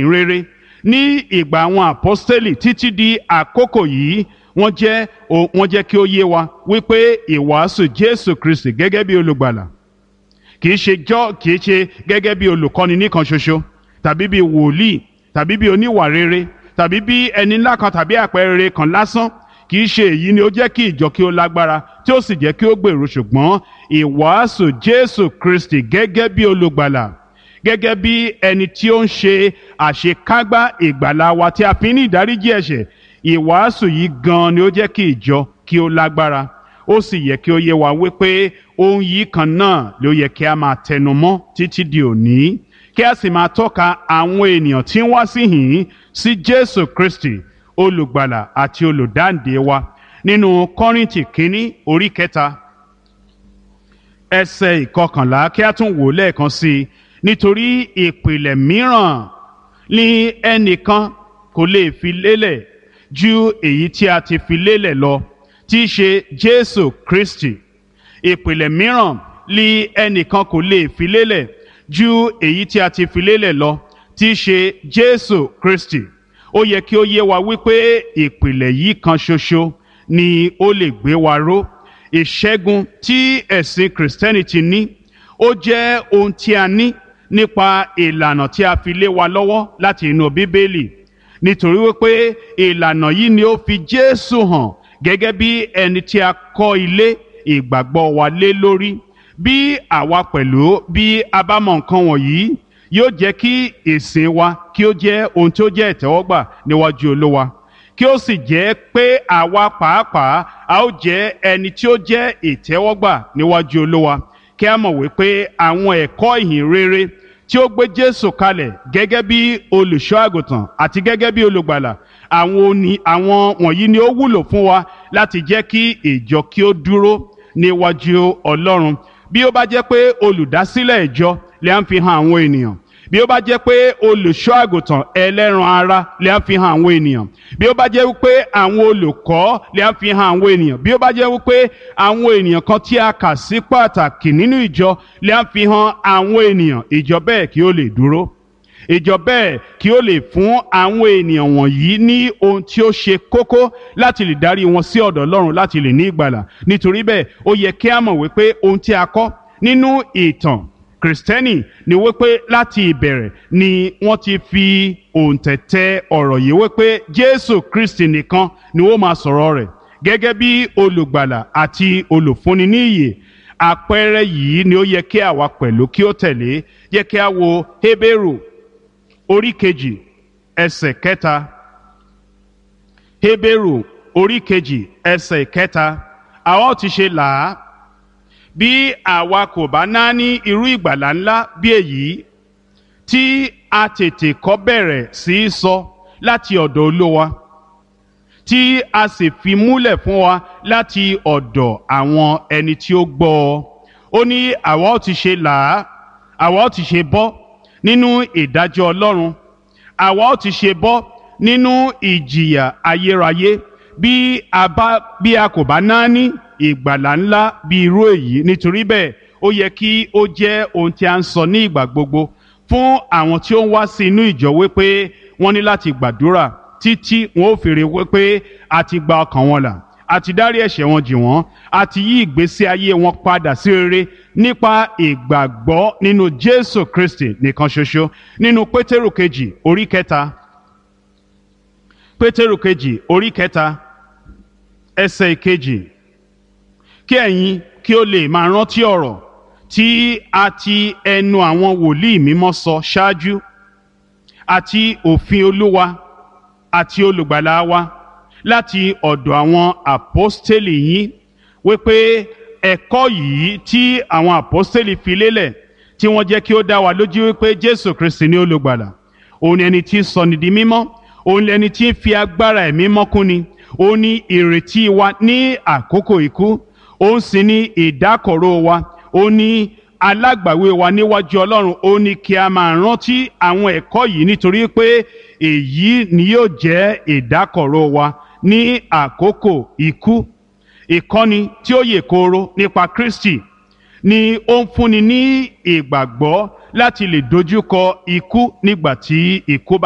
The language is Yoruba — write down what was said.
Ìrere ní ìgbà àwọn àpọ́stélì títí di àkókò yìí, wọ́n jẹ́ kí ó yé wa wípé ìwàásù Jésù Kristi gẹ́gẹ́ bí olùgbàlà kìí ṣe jọ́ kìí ṣe gẹ́gẹ́ bí olùkọ́ni nìkan ṣoṣo, tàbí bí wòlíì, tàbí bí oníwà rere, tàbí bí ẹni ńlá kan tàbí àpẹẹrẹ kan lásán. Kìí ṣe èyí ni ó jẹ́ kí ìjọ kí ó lágbára tí ó sì jẹ́ kí ó gbèrú, ṣùgbọ́n ìwàásù Jésù Kristi gẹ́gẹ́ bí olùgbàlà, gẹ́gẹ́ bí ẹni tí ó ń ṣe àṣekágbá ìgbàlà wa tí a fi ní ìdáríjì ẹ̀ṣẹ̀. Ìwàásù yìí gan ni ó jẹ́ kí ìjọ kí ó lágbára. Ó sì yẹ kí ó yé wa wípé ohun yìí kan náà ló yẹ kí a máa tẹnu mọ́ títí di òní, kí a sì máa tọ́ka àwọn ènìyàn tí ń wá síhìn sí Jésù Kristi, olùgbàlà àti olùdáǹdè wa. Nínú Kọ́ríńtì kínní orí 3 ẹsẹ̀ 11, kí a tún wò lẹ́ẹ̀kan sí i: nítorí ìpìlẹ̀ mìíràn ni ẹnìkan kò lè fi lélẹ̀ ju èyí tí a ti fi lélẹ̀ lọ, tí í ṣe Jésù Kristi. Ìpìlẹ̀ mìíràn ni ẹnìkan kò lè fi lélẹ̀ ju èyí tí a ti fi lélẹ̀ lọ, tí í ṣe Jésù Kristi. Ó yẹ kí ó yé wa wípé ìpìlẹ̀ yìí kan ṣoṣo ni ó lè gbé wa ró. Ìṣẹ́gun tí ẹ̀sìn Kìrìsìtẹ́nì ti ní, ó jẹ́ ohun tí a ní nípa ìlànà tí a fi lé wa lọ́wọ́ láti inú Bíbélì, nítorí wípé ìlànà yìí ni ó fi Jésù hàn gẹ́gẹ́ bí ẹni tí a kọ́ ilé ìgbàgbọ́ wa lé lórí. Bí àwa pẹ̀lú bí a bá mọ nǹkan wọ̀nyí, yóò jẹ́ kí ìsìn wa kí ó jẹ́ ohun tí ó jẹ́ ìtẹ́wọ́gbà níwájú Olúwa, kí ó sì jẹ́ pé àwa pàápàá a ó jẹ́ ẹni tí ó jẹ́ ìtẹ́wọ́gbà níwájú Olúwa. Kí a mọ̀ wípé àwọn ẹ̀kọ́ ìhìn rere tí ó gbé Jésù kalẹ̀ gẹ́gẹ́ bí olùṣọ́ àgùntàn àti gẹ́gẹ́ bí olùgbàlà, àwọn wọ̀nyí ni ó wúlò fún wa láti jẹ́ kí ìjọ kí ó dúró níwájú Ọlọ́run. Bí ó bá jẹ́ pé olùdásílẹ̀ ìjọ lè ń fi hàn àwọn ènìyàn, bí ó bá jẹ́ pé olùṣọ́ àgùntàn ẹlẹ́ran ara lè ń fi hàn àwọn ènìyàn, bí ó bá jẹ́ wípé àwọn olùkọ́ lè ń fi hàn àwọn ènìyàn, bí ó bá jẹ́ wípé àwọn ènìyàn kan tí a kà sí pàtàkì nínú ìjọ lè ń fi hàn àwọn ènìyàn, ìjọ bẹ́ẹ̀ kí ó lè dúró, ìjọ bẹ́ẹ̀ kí ó lè fún àwọn ènìyàn wọ̀nyí ní ohun tí ó ṣe kókó láti lè darí wọn sí ọ̀dọ̀ Ọlọ́run láti lè ní ìgbàlà. Nítorí bẹ́ẹ̀, ó yẹ kí a mọ̀ wípé ohun tí a kọ́ nínú ìtàn Kìrìsìtẹ́nì ni wípé láti ìbẹ̀rẹ̀ ni wọ́n ti fi òǹtẹ̀tẹ̀ ọ̀rọ̀ yìí wípé Jésù Kristi nìkan ni ó máa sọ̀rọ̀ rẹ̀ gẹ́gẹ́ bí olùgbàlà àti olùfúnni ní ìyè. Àpẹẹrẹ yìí ni ó yẹ kí àwa pẹ̀lú kí ó tẹ̀lé. Yẹ kí a wo Hébérù orí 2 ẹsẹ̀ 3. Hébérù orí 2 ẹsẹ̀ 3: àwa ó ti ṣe là á bí àwa kò bá náání irú ìgbàlà ńlá bí èyí, tí a tètè kọ́ bẹ̀rẹ̀ sí í sọ láti ọ̀dọ̀ Olúwa, tí a sì fi múlẹ̀ fún wa láti ọ̀dọ̀ àwọn ẹni tí ó gbọ́ ọ. Ó ní àwa ó ti ṣe là á, àwa ó ti ṣe bọ́ nínú ìdájọ́ Ọlọ́run, àwa ó ti ṣe bọ́ nínú ìjìyà ayérayé bí a kò bá náání ìgbàlà ńlá bí irú èyí? Nítorí bẹ́ẹ̀, ó yẹ kí ó jẹ́ ohun tí a ń sọ ní ìgbà gbogbo fún àwọn tí ó ń wá sí inú ìjọ wípé wọ́n ní láti gbàdúrà títí wọn ó fèrè wípé a ti gba ọkàn wọn là, a ti dárí ẹ̀ṣẹ̀ wọn jì wọ́n, a ti yí ìgbésí ayé wọn padà sí rere nípa ìgbàgbọ́ nínú Jésù Kristi nìkan ṣoṣo. Nínú Pétérù kejì orí 3, Pétérù kejì orí 3 ẹsẹ̀ 2: kí ẹ̀yin kí ó lè máa rántí ọ̀rọ̀ tí a ti ẹnu àwọn wòlíì mímọ́ sọ ṣáájú, àti òfin Olúwa àti olùgbàlà wa láti ọ̀dọ̀ àwọn àpọ́stélì yín, wípé ẹ̀kọ́ yìí tí àwọn àpọ́stélì fi lélẹ̀, tí wọ́n jẹ́ kí ó dá wa lójú wípé Jésù Kristi ní olùgbàlà, òun ni ẹni tí ń sọni di mímọ́, òun ni ẹni tí ń fi agbára ẹ̀mí mọ́ kúnni, òun ni ìrètí wa ní àkókò ikú, òun sì ni ìdákọ̀ró wa, òun ni alágbàwé wa níwájú Ọlọ́run, ó ní kí a máa rántí àwọn ẹ̀kọ́ yìí, nítorí pé èyí ni yóò jẹ́ ìdákọ̀ró wa ní àkókò ikú. Ìkọ́ni tí ó yè kooro nípa Kristi ni ó ń fúnni ní ìgbàgbọ́ láti lè dojúkọ ikú nígbà tí ikú bá